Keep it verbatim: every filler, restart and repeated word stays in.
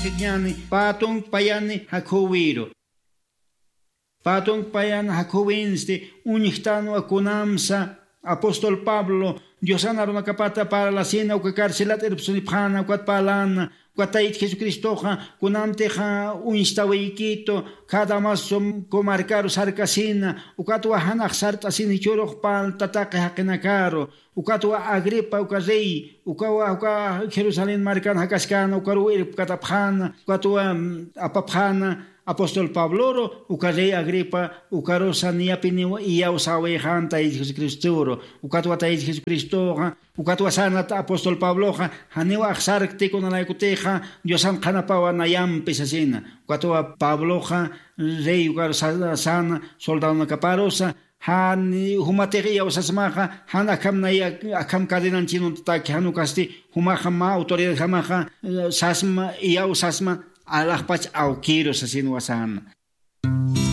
Ñani, patunk payani jakhuwiru. Patunk payan jakhuwinsti uñjtanwa kunamsa apóstol Pablo Diosan arunakapata parlasina uka carcelat irpsunipxana ukat parlana uka Tayta Jesucristoxa kunamtixa uñstawaykitu, cada Damasco comarcaru sarkasina, ukatwa janax sart'asina jichhürux pal tataqi jaqinakaru, ukatwa Agripa uka rey, ukawa uka Jerusalén markan jakaskana ukaruw irpkatapxana, ukatwa mm, apapxana apóstol Pabloru, uka rey Agripa ukarusa niyapiniw iyawsäwayxan Tayta Jesucristoru, ukatwa Tayta Jesucristoxa, ukatwa sanat apóstol Pabloxa janiw axsarkti kunalaykutixa Diosan qhanapawa nayampi sasina, ukatwa Pabloxa rey ukaru sa- sana soldadonakaparusa, jan jumatix iyawsasmaxa jan akham nay akham cadenan chinuntataki jan ukasti jumaxa mä autoridadjamaxa eh, sasma iyawsasma alaxpach awkiru sasinwa sana.